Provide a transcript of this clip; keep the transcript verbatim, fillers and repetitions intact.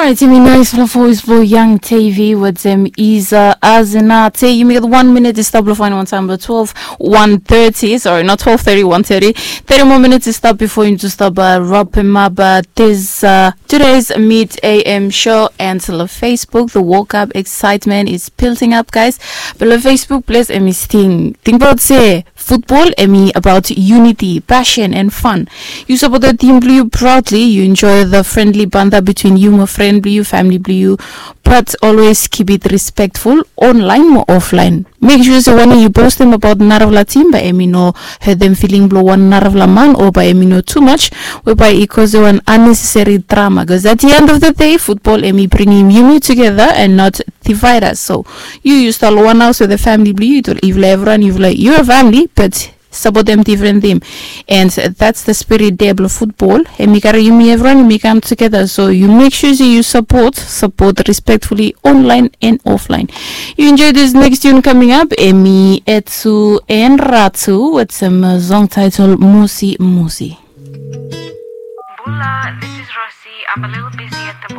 Alright, yumi nais fala voice blong Young Tavy wetem Iza Azina. Te yumi gat wan minit i stap long fain wan taim blong twelve, one thirty, sorry, not twelve thirty, one thirty. Thirty moa minit i stap bifo yumi tu stap rapim ap this uh, today's Mid A M show. And long Facebook, the woke up excitement is building up, guys. But long Facebook ples em i sting. Tingbaot se futbol em i abaot unity, passion and fun. Yu sapotem tim blong yu proudly, yu enjoy the friendly banda between yu mo fren blong yu, famili blong yu. But always keep it respectful, online mo offline. Make sure se wanem yu postem abaot narafala tim bae em i no hetem filing blong wan narafala man o bae em i no too much we bae i kosem wan unnecessary drama, bikos at the end of the day futbol em i bringim yumi together and not divide us. So yu yu stap long wan haus wetem famili blong yu, yufala evriwan yufala yu a famili, but sapotem difren tim. And that's the spirit dea blong futbol, em i karim yumi evriwan yumi kam together. So yu make sure se yu sapot, sapot respectfully, online and offline. Yu enjoy this next tune coming up, em i Etu and Ratu wetem song title Musi Musi. Bula, this is Rosie. I'm a little busy at the